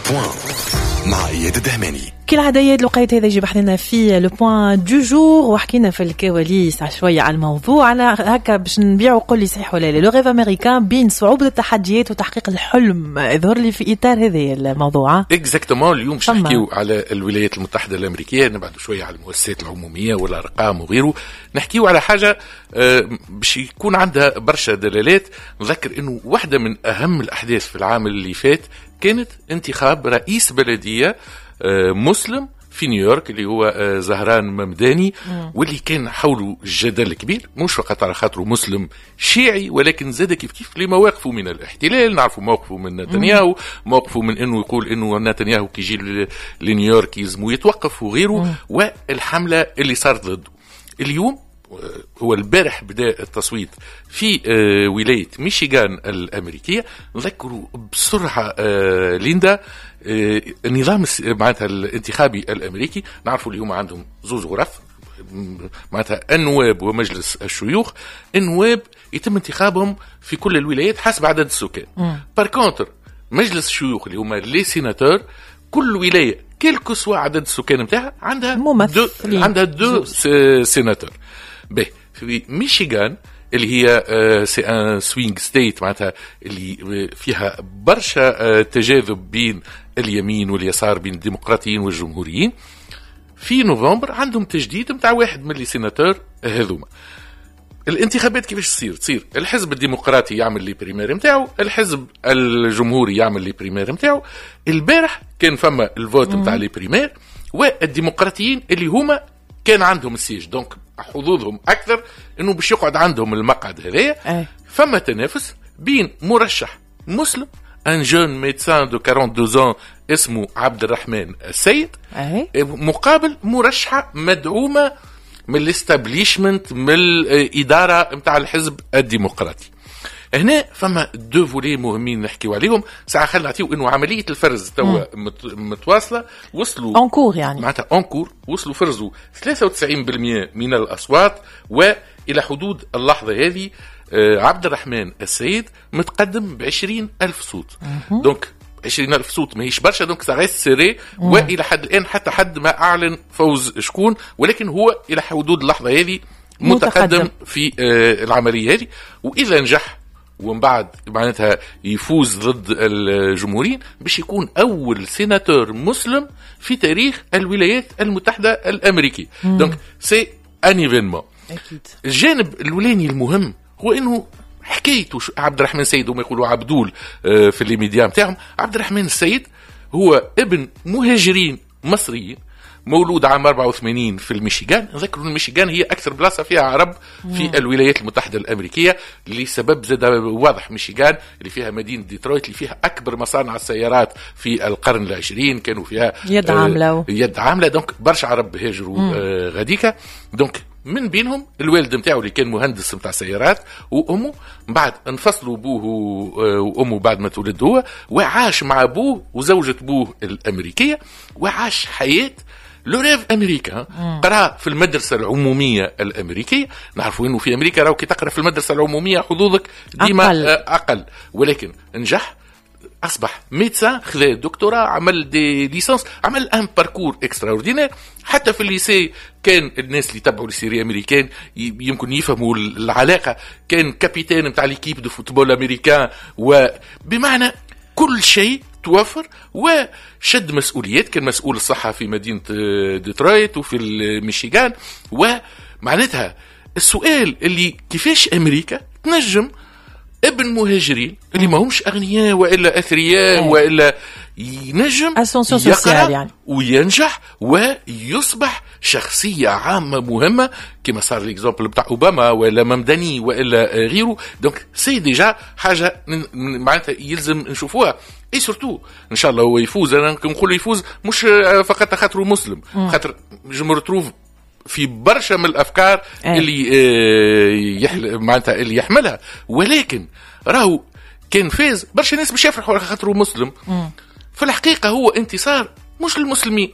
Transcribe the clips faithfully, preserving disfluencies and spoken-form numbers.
point مع اياد الدهماني. كالعادة اياد، الوقيت هذا يجي بحذنا في le point du jour، وحكينا في الكواليس شوية على الموضوع. على هكا باش نبيعوا، قول لي صحيح ولا لا، le rêve américain بين صعوبة التحديات وتحقيق الحلم، يظهر لي في اطار هذا الموضوع. exactement، اليوم باش نحكيو على الولايات المتحدة الامريكيه، نبعدوا شوية على المؤسسات العمومية والارقام وغيره، نحكيو على حاجة آه، باش يكون عندها برشا دلالات. نذكر انه واحدة من اهم الاحداث في العام اللي فات كانت انتخاب رئيس بلديه آه، مسلم في نيويورك، اللي هو آه، زهران ممداني، واللي كان حوله جدل كبير، مش فقط على خاطره مسلم شيعي، ولكن زاد كيف كيف لمواقفه من الاحتلال. نعرفوا موقفه من نتنياهو، موقفه من انه يقول انه نتنياهو كي يجي لنيويورك يلزمه يتوقف وغيره، والحمله اللي صارت ضده. اليوم هو البارح بدا التصويت في آه، ولاية ميشيغان الامريكيه. نذكروا بسرعة آه، ليندا، آه، النظام معناتها الانتخابي الامريكي، نعرفوا اليوم عندهم زوز غرف، معناتها النواب ومجلس الشيوخ. النواب يتم انتخابهم في كل الولايات حسب عدد السكان. par contre مجلس الشيوخ اللي هما les sénateurs، كل ولاية quel que soit عدد السكان نتاعها عندها ممثلين. deux عندها deux sénateurs. به في ميشيغان اللي هي c'est un swing state، معناتها اللي فيها برشا آه، تجاذب بين اليمين واليسار، بين الديمقراطيين والجمهوريين، في نوفمبر عندهم تجديد نتاع واحد من les sénateurs هذوما. الانتخابات كيفاش تصير؟ تصير الحزب الديمقراطي يعمل les primaires نتاعو، الحزب الجمهوري يعمل les primaires نتاعو. البارح كان فما ال vote نتاع les primaires، والديمقراطيين اللي هما كان عندهم ال siège، donc حظوظهم اكثر انه باش يقعد عندهم المقعد هذايا. فما تنافس بين مرشح مسلم، un jeune médecin de quarante-deux ans اسمه عبد الرحمن السيد، أي. مقابل مرشحة مدعومة من ال establishment، من الادارة نتاع الحزب الديمقراطي. هنا فما deux volets مهمين نحكيو عليهم. ساعة خلينا نعطيو انه عملية الفرز توا متواصله، وصلوا en cours يعني. معناتها en cours، وصلوا فرزوا ثلاثة وتسعين بالمية من الاصوات، والى حدود اللحظة هذه آه، عبد الرحمن السيد متقدم ب ألف صوت. donc عشرين ألف صوت ماهيش برشا، donc ça reste serré. والى حد الان حتى حد ما اعلن فوز شكون، ولكن هو الى حدود اللحظة هذه متقدم، متقدم في آه، العملية هذه. واذا نجح ومن بعد معناتها يفوز ضد الجمهوريين، باش يكون اول سيناتور مسلم في تاريخ الولايات المتحدة الامريكيه، donc c'est un événement. اكيد. الجانب الاولاني المهم هو انه حكايته عبد الرحمن السيد، هم يقولوا عبدول آه، في les médias نتاعهم. عبد الرحمن السيد هو ابن مهاجرين مصريين، مولود عام أربعة وثمانين في الميشيغان. نذكر الميشيغان هي اكثر بلاصة فيها عرب في الولايات المتحدة الامريكيه، لسبب زاد واضح. ميشيغان اللي فيها مدينة ديترويت، اللي فيها اكبر مصانع السيارات في القرن العشرين، كانوا فيها يد عامله. آه يد عامله، donc برشا عرب هاجروا آه غاديكا، donc من بينهم الوالد نتاعو اللي كان مهندس نتاع سيارات وامه. من بعد انفصلوا ابوه وامه بعد ما تولد هو، وعاش مع ابوه وزوجة ابوه الامريكيه، وعاش حياة le rêve américain. قرا في المدرسة العمومية الامريكيه. نعرفوا انه في امريكا راهو كي تقرا في المدرسة العمومية حظوظك ديما أقل. اقل، ولكن نجح، اصبح médecin، خذا دكتوراه، عمل des licences، عمل un parcours extraordinaire. حتى في ال lycée كان الناس اللي تبعوا les séries américaines يمكن يفهموا العلاقه، كان capitaine نتاع l'équipe de football américain، وبمعنى كل شيء توفر، وشد مسؤوليات، كان مسؤول الصحة في مدينة ديترويت وفي الميشيغان. ومعناتها السؤال اللي كيفاش أمريكا تنجم ابن مهاجرين اللي ما همش اغنياء والا اثرياء والا ينجم يقرا يعني وينجح ويصبح شخصية عامة مهمه، كما صار l'exemple بتاع اوباما ولا ممدني والا غيره. donc c'est déjà حاجة معناتها يلزم نشوفوها، et surtout ان شاء الله هو يفوز. انا نقول يفوز مش فقط خاطره مسلم، خاطر je me retrouve في برشا من الافكار أي. اللي آه، يحل معناتها اللي يحملها. ولكن راهو كان فاز برشا ناس باش يفرحوا على خاطره مسلم. في الحقيقة هو انتصار مش للمسلمين،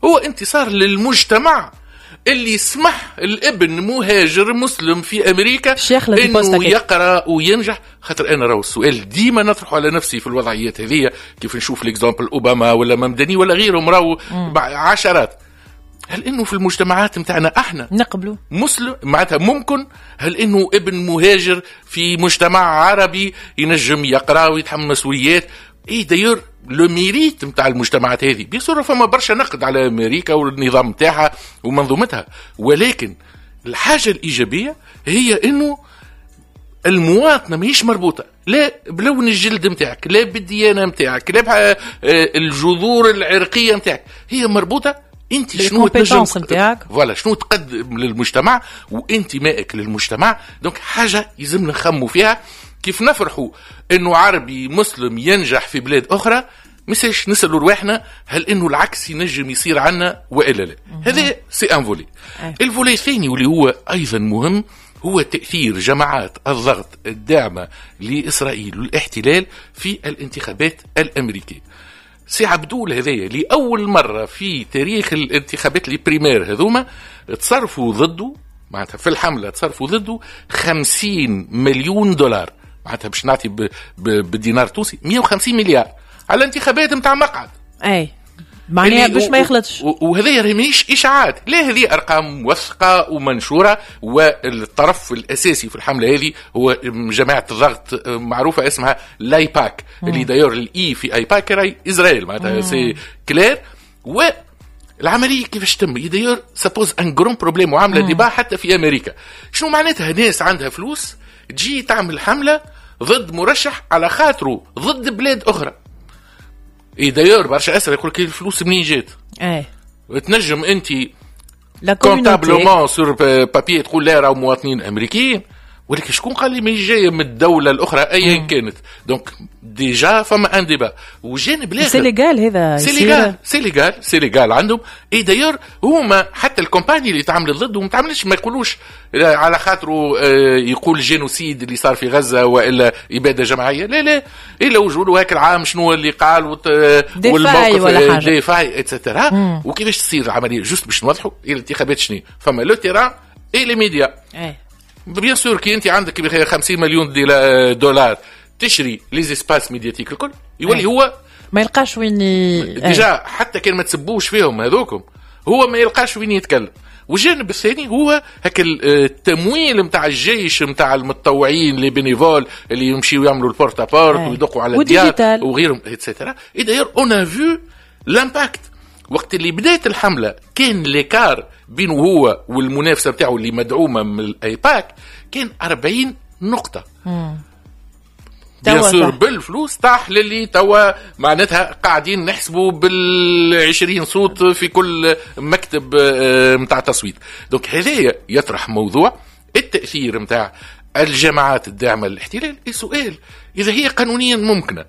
هو انتصار للمجتمع. اللي سمح الابن مهاجر مسلم في امريكا انه يقرا وينجح. خاطر انا راهو السؤال ديما نطرحه على نفسي في الوضعيات هذه، كيف نشوف l'exemple اوباما ولا ممدني ولا غيرهم، راهو عشرات، هل انه في المجتمعات نتاعنا احنا نقبلوا مسلم معناتها ممكن؟ هل انه ابن مهاجر في مجتمع عربي ينجم يقرا ويتحمل مسؤوليات؟ et d'ailleurs le mérite نتاع المجتمعات هذه، bien sûr فما برشا نقد على امريكا والنظام نتاعها ومنظومتها، ولكن الحاجة الايجابية هي انه المواطنة ماهيش مربوطة لا بلون الجلد نتاعك، لا بالديانة نتاعك، لا بالجذور العرقية نتاعك، هي مربوطة انت شنو تنجم voilà شنو تقدم للمجتمع وانتمائك للمجتمع. donc حاجة يلزمنا نخمو فيها، كيف نفرحوا انه عربي مسلم ينجح في بلاد اخرى، مساش نسالوا رواحنا هل انه العكس ينجم يصير عنا والا لا. هذا c'est un volet. ال volet الثاني واللي هو ايضا مهم هو تاثير جماعات الضغط الداعمة لاسرائيل والاحتلال في الانتخابات الامريكية. سي عبدول هذايا لاول مرة في تاريخ الانتخابات les primaires هذوما تصرفوا ضده، معناتها في الحملة تصرفوا ضده خمسين مليون دولار، معناتها باش نعطي بالدينار التونسي مية وخمسين مليار على انتخابات نتاع مقعد. اي معناها باش ما يخلطش. وهذه ماهيش اشاعات، لا هذه ارقام موثقة ومنشوره، والطرف الاساسي في الحملة هذه هو جماعة الضغط معروفة اسمها l'AIPAC، اللي d'ailleurs ال I في AIPAC راهي اسرائيل، معناتها c'est clair. و العملية كيفاش تم d'ailleurs ça pose un grand problème وعامله débat حتى في امريكا. شنو معناتها ناس عندها فلوس تجي تعمل حمله ضد مرشح على خاطره ضد بلاد اخرى؟ et d'ailleurs برشا اسئلة يقول لك الفلوس منين جات؟ ايه تنجم انت comptablement sur papier تقول لا راهو مواطنين امريكيين، ولكن شكون قال لي ماهيش جاية من الدولة الاخرى ايا كانت؟ donc déjà فما un débat. وجانب الاخر c'est légal، هذا c'est légal، c'est légal، c'est légal عندهم. et d'ailleurs هما حتى ال campagne اللي تعمل ضده ما تعملش، ما يقولوش على خاطره يقول génocide اللي صار في غزة والا ابادة جماعية، لا لا، الا وجوده هاك العام شنو اللي قال والموقف des failles et cetera. وكيفاش تصير العملية؟ juste باش نوضحوا الانتخابات شنو فما le terrain et les médias. bien sûr كي انت عندك خمسين مليون دولار تشري les espaces médiatiques الكل، يولي هو ما يلقاش وين ي... déjà حتى كان ما تسبوش فيهم هذوكم هو ما يلقاش وين يتكلم. والجانب الثاني هو هكا التمويل نتاع الجيش نتاع المتطوعين les bénévoles اللي يمشيو يعملوا ال porte-à-porte ويدقوا على الديار وغيرهم et cetera. et d'ailleurs on a vu l'impact وقت اللي بدات الحملة، كان l'écart بينه هو والمنافسه بتاعه اللي مدعومة من الايباك كان أربعين نقطة. bien sûr بالفلوس طاح للي توا معناتها قاعدين نحسبوا بالعشرين صوت في كل مكتب نتاع تصويت. donc هذايا يطرح موضوع التاثير نتاع الجماعات الداعمة للاحتلال. السؤال اذا هي قانونيا ممكنة،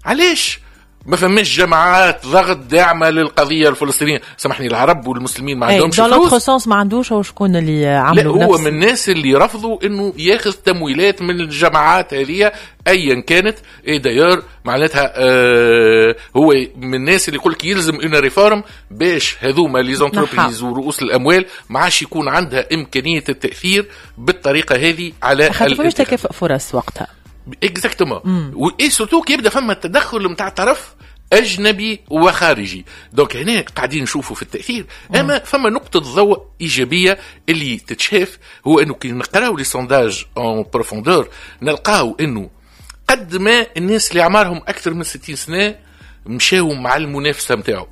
علاش ما فماش جماعات ضغط داعمه للقضية الفلسطينية؟ سامحني العرب والمسلمين ما عندهمش فلوس. dans l'autre sens ما عندوش، هو شكون اللي عملوا؟ لا هو من الناس اللي رفضوا انه ياخذ تمويلات من الجماعات هذه ايا كانت. et d'ailleurs معناتها آه هو من الناس اللي يقول لك يلزم une réforme باش هذوما les entreprises ورؤوس الاموال ما عادش يكون عندها امكانية التاثير بالطريقة هذه على خاطر فماش تكافؤ فرص وقتها. exactement، et surtout كي يبدا فما التدخل نتاع طرف اجنبي وخارجي. donc هنا قاعدين نشوفوا في التاثير. اما فما نقطة ضوء ايجابية اللي تتشاف، هو انه كي نقراو les sondages en profondeur نلقاو انه قد ما الناس اللي اعمارهم اكثر من ستين سنة مشاو مع المنافسة نتاعو،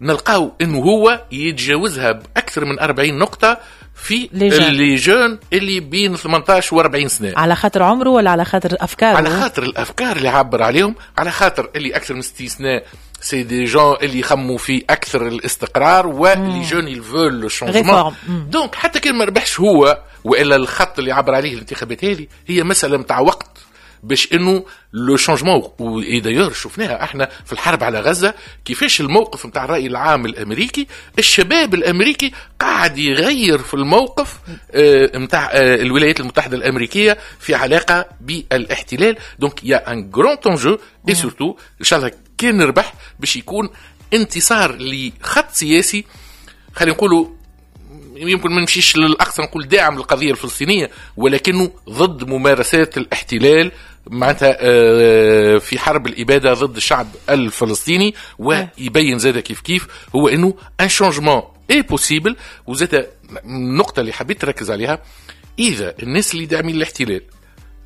نلقاو انه هو يتجاوزها باكثر من أربعين نقطة في les jeunes اللي بين ثمنطاش و أربعين سنة. على خاطر عمره ولا على خاطر افكاره؟ على خاطر الافكار اللي عبر عليهم، على خاطر اللي اكثر من ستين سنة c'est des gens اللي يخموا في اكثر الاستقرار، و les jeunes ils veulent le changement. donc حتى كان ما ربحش هو والا الخط اللي عبر عليه الانتخابات هذه، هي مسالة نتاع وقت باش انه le changement. و d'ailleurs شفناها احنا في الحرب على غزة كيفاش الموقف نتاع الراي العام الامريكي، الشباب الامريكي قاعد يغير في الموقف نتاع آه الولايات المتحدة الامريكية في علاقة بالاحتلال. donc y a un grand enjeu، et surtout ان شاء الله كان نربح باش يكون انتصار لخط سياسي خلينا نقولوا يمكن ما نمشيش للاقصى نقول داعم للقضية الفلسطينية، ولكنه ضد ممارسات الاحتلال معناتها في حرب الابادة ضد الشعب الفلسطيني. ويبين زاد كيف كيف هو انه un changement est possible. وزاد النقطة اللي حبيت تركز عليها، اذا الناس اللي داعمين الاحتلال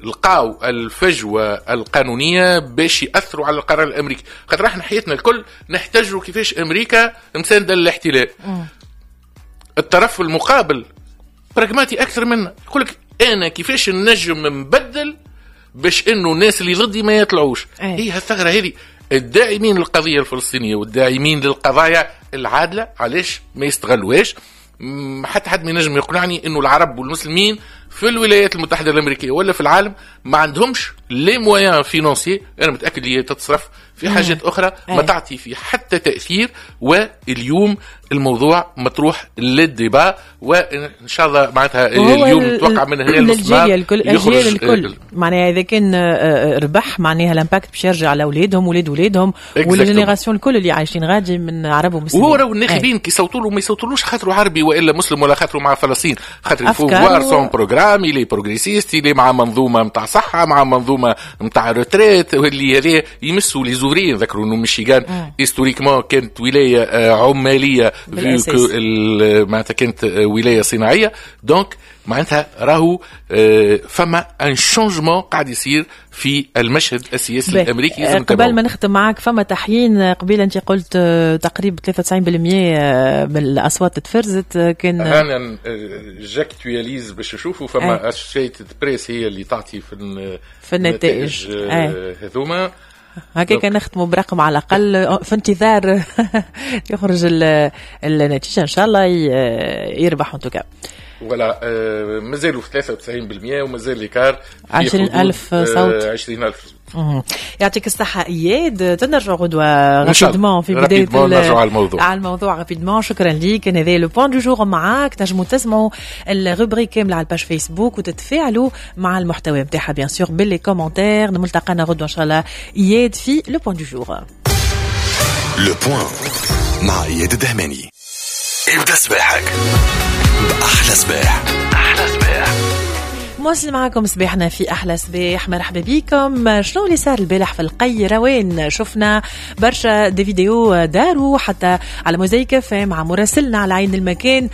لقاو الفجوة القانونية باش ياثروا على القرار الامريكي، خاطر احنا حياتنا الكل نحتاجوا كيفاش امريكا مساندة للاحتلال. الطرف المقابل براغماتي اكثر منا، يقول لك انا كيفاش نجم نبدل باش انه الناس اللي ضدي ما يطلعوش. هي هالثغره هذه الداعمين للقضية الفلسطينية والداعمين للقضايا العادلة علاش ما يستغلوهاش؟ حتى حد ما ينجم يقنعني انه العرب والمسلمين في الولايات المتحدة الامريكية ولا في العالم ما عندهمش les moyens financiers. انا متاكد اللي تتصرف في حاجات اخرى ما تعطي في حتى تاثير. واليوم الموضوع مطروح لل débat، وان شاء الله معناتها اليوم نتوقع من هنا للجيل الكل، الاجيال الكل معناها اذا كان ربح معناها l'impact باش يرجع على اولادهم ولاد اولادهم وال générations الكل اللي عايشين غادي من عرب ومسلمين. وهو راهو الناخبين كي يصوتوا له ما يصوتولوش خاطروا عربي والا مسلم ولا خاطروا مع فلسطين، خاطر faut voir son programme، il est progressiste، il est مع منظومة نتاع صحة، مع منظومة نتاع retraite، واللي هذا يمسوا les ouvriers. نذكروا انه ميشيغان historiquement كانت ولاية عماليه معناتها كانت ولاية صناعية، donc معناتها راهو فما un changement قاعد يصير في المشهد السياسي الامريكي. قبل ما نختم معك فما تحيين، قبيل انت قلت تقريبا ثلاثة وتسعين بالمية من الاصوات تفرزت. كان انا j'actualise باش نشوفوا فما Associated Press هي اللي تعطي في في النتائج هذوما. هكاك نختموا برقم على الاقل في انتظار يخرج النتيجة ان شاء الله يربح en tout cas. voilà مازالوا في ثلاثة وتسعين بالمية ومازال l'écart عشرين ألف صوت. عشرين ألف صوت. يعطيك الصحة إياد، تنرجع غدوة rapidement في بداية نرجع على الموضوع على الموضوع rapidement. شكرا ليك. هذا le point du jour معاك، تنجموا تسمعوا ال rubrique كاملة على ال page Facebook وتتفاعلوا مع المحتوى نتاعها bien sûr ب les commentaires. ملتقانا غدوة إن شاء الله إياد في le point du jour. le point مع إياد الدهماني. ابدأ صباحك بأحلى صباح. أحلى صباح مواصل معكم صباحنا في أحلى صباح. مرحبا بكم. شنو اللي صار البارح في القيروان؟ شفنا برشا des vidéos داروا حتى على موزايك مع مراسلنا على عين المكان.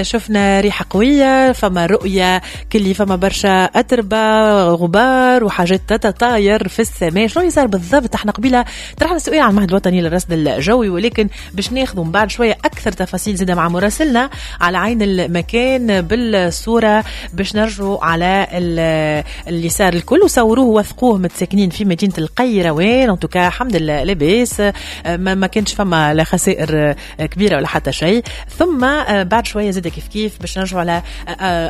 شفنا ريحة قوية، فما رؤية كلي، فما برشا أتربة غبار وحاجات تتطاير في السماء. شنو اللي صار بالضبط؟ احنا قبيلة طرحنا سؤال على المعهد الوطني للرصد الجوي، ولكن باش ناخذ من بعد شوية أكثر تفاصيل زادة مع مراسلنا على عين المكان بالصورة باش نرجعوا على اللي صار الكل وصوروه ووثقوه متساكنين في مدينة القيروان. en tout cas الحمد لله لاباس، ما, ما كانش فما لا خسائر كبيرة ولا حتى شيء. ثم بعد شوية زاد كيف كيف باش نرجعوا على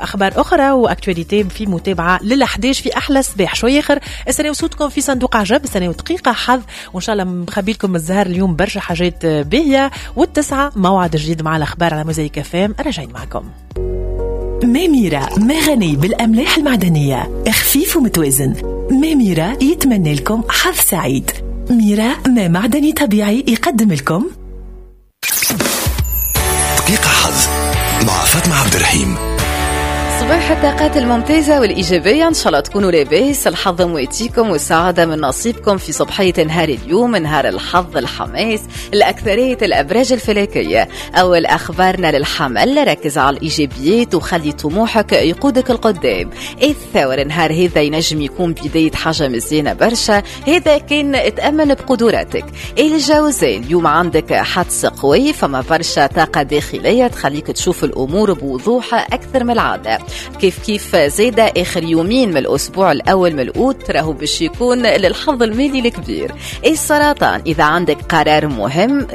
أخبار أخرى و actualité في متابعة للأحداث في أحلى صباح. شوية آخر استناو صوتكم في صندوق عجب، استناو دقيقة حظ، وإن شاء الله مخبي لكم الزهر اليوم برشا حاجات باهية. والتسعة موعد جديد مع الأخبار على موزايك أف أم. راجعين معكم. ميميرا مغني بالأملاح المعدنية، خفيف ومتوازن. ميميرا يتمنى لكم حظ سعيد. ميرا ما معدني طبيعي يقدم لكم دقيقة حظ مع فاطمة عبد الرحيم. صباح الطاقات الممتازة والإيجابية، إن شاء الله تكونوا لاباس، الحظ مواتيكم والسعادة من نصيبكم في صبحية نهار اليوم، نهار الحظ الحماس الأكثرية الأبراج الفلكية. أول أخبارنا للحمل، ركز على الإيجابيات وخلي طموحك يقودك القدام. الثور نهار هذا ينجم يكون بداية حاجة مزيانة برشا، هذا كان تأمن بقدراتك. الجوزاء اليوم عندك حدس قوي، فما برشا طاقة داخلية تخليك تشوف الأمور بوضوح أكثر من العادة. كيف كيف زيادة آخر يومين من الأسبوع الأول من الأوت راهو باش يكون للحظ المالي الكبير. السرطان إذا عندك قرار مهم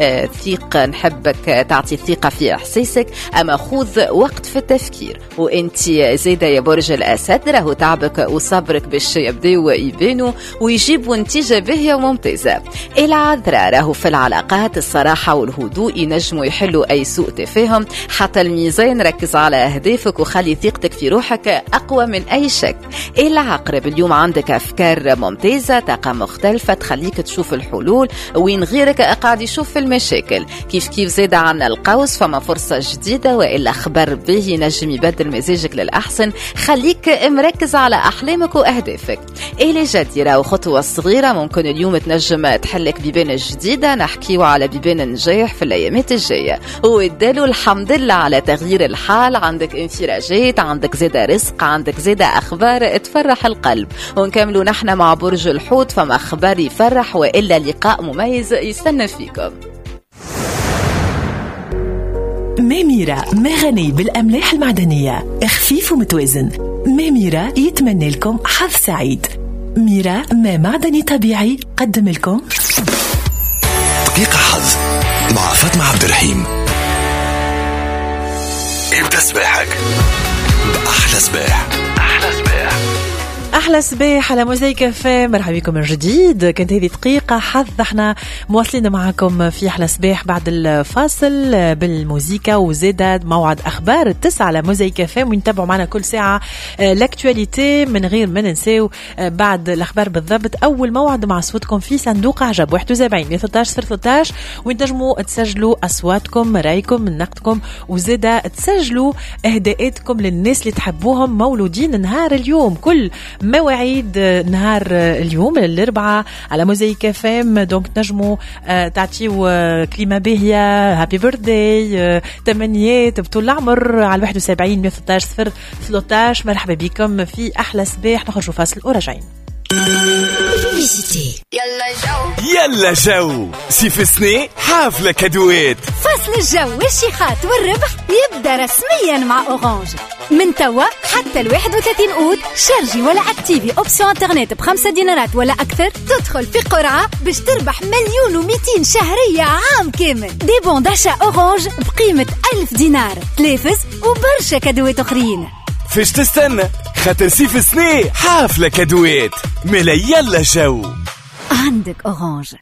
ثيق، نحبك تعطي ثقة في إحساسك، أما خذ وقت في التفكير. وإنت زيادة يا برج الأسد راهو تعبك وصبرك باش يبداو يبانوا ويجيبوا نتيجة باهية وممتازة. العذراء راهو في العلاقات الصراحة والهدوء ينجموا يحلوا أي سوء تفاهم. حتى الميزان ركز على أهدافك وخلي ثقتك ثقتك في روحك أقوى من أي شك. العقرب اليوم عندك أفكار ممتازة، طاقة مختلفة تخليك تشوف الحلول وين غيرك قاعد يشوف في المشاكل. كيف كيف زاد عنا القوس، فما فرصة جديدة وإلا خبر به نجم يبدل مزاجك للأحسن، خليك مركز على أحلامك وأهدافك. إلى جديرة وخطوة صغيرة ممكن اليوم تنجم تحلك بيبان جديدة، نحكيو على بيبان النجاح في الأيامات الجاية. وادالو الحمد لله على تغيير الحال، عندك انفراجات، عندك زادة رزق، عندك زادة أخبار تفرح القلب. ونكملوا نحن مع برج الحوت، فما أخبار يفرح وإلا لقاء مميز يستنى فيكم. ميميرا مغني بالأملاح المعدنية، خفيف ومتوازن. ميميرا يتمنى لكم حظ سعيد. ميرا ما معدني طبيعي قدم لكم دقيقة حظ مع فاطمة عبد الرحيم. ابدأ صباحك بأحلى صباح. أحلى صباح، أحلى صباح على موزايك إف إم. مرحبا بكم من جديد. كانت هذه دقيقة حظ، احنا مواصلين معكم في أحلى صباح بعد الفاصل بالموزيكا وزادة موعد أخبار التسعة على موزايك إف إم، ونتابعوا معنا كل ساعة l'actualité من غير ما ننساو بعد الأخبار بالضبط أول موعد مع صوتكم في صندوق عجب واحد وسبعين مية وثلاثة عشر صفر ثلاثة عشر، وين تنجموا تسجلوا أصواتكم، رأيكم، نقدكم، وزادة تسجلوا إهداءاتكم للناس اللي تحبوهم مولودين نهار اليوم. كل مواعيد نهار اليوم الأربعاء على موزايك إف إم، donc تنجموا تعطيو كلمة باهية، happy birthday، تمنيات بطول العمر على واحد وسبعين مية وثلاثة عشر صفر ثلاثة عشر. مرحبا بكم في أحلى صباح. نخرجوا فاصل وراجعين. يلا جو يلا جو صيف سنة حافلة كادوات. فصل الجو والشيخات والربح يبدأ رسميا مع أورانج من توا حتى الواحد وثلاثين أوت. شارجي ولا activer option internet بخمسة دينارات ولا أكثر تدخل في قرعة باش تربح مليون ومئتين شهرية عام كامل. des bons d'achat أورانج بقيمة ألف دينار، تلافز وبرشا كادوات أخرين. فاش تستنى؟ خاطر صيف سنة حافلة كادوات. ملا يلا جو عندك أورانج.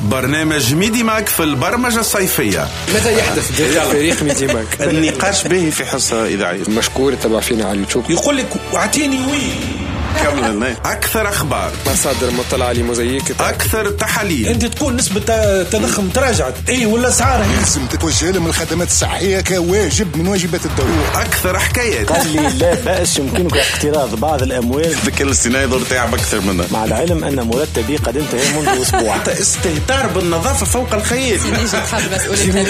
برنامج ميدي ماك في البرمجة الصيفية. ماذا يحدث داخل فريق ميدي ماك؟ النقاش به في حصة إذاعية. مشكور تبع فينا على اليوتيوب. يقول لك اعطيني وين كمل. أكثر أخبار، مصادر مطلعة لموزايك، أكثر تحاليل. أنت تقول نسبة التضخم تراجعت، أي ولا أسعار لازم تتوجه لهم الخدمات الصحية كواجب من واجبات الدولة. أكثر حكايات. قال لي لا بأس يمكنك اقتراض بعض الأموال. الذكاء الاصطناعي ضر تعب أكثر منه، مع العلم أن مرتبي قد انتهى منذ أسبوع. حتى استهتار بالنظافة فوق الخيال. تحب مسؤولية.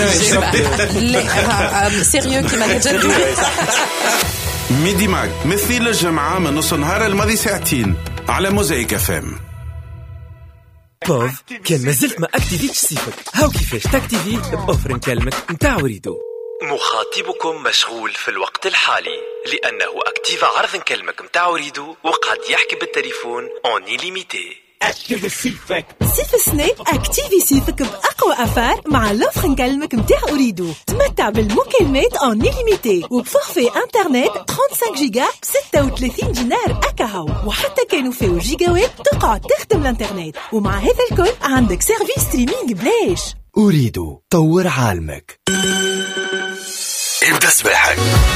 لا sérieux كيما تجد. ميدي ماك مثل الجمعة من نص نهار الماضي ساعتين على موزايك إف إم. بوف كان مازلت ما اكتيفيتش صيفك، هاو كيفاش تاكتيفي ب offre نكلمك نتاع أوريدو. مخاطبكم مشغول في الوقت الحالي لأنه اكتيفا عرض نكلمك نتاع أوريدو وقعد يحكي بالتليفون en illimité. اكتيفي صيفك صيف سنة، اكتيفي صيفك بأقوى affaire مع l'offre نكلمك نتاع أوريدو. تمتع بالمكالمات en illimité وب forfait internet خمسة وثلاثين جيجا ب ستة وثلاثين دينار أكاهو، وحتى كانوا فيه جيجاوات تقعد تخدم الانترنت، ومع هذا الكل عندك service streaming بلاش. أوريدو طور عالمك. ابدأ صباحك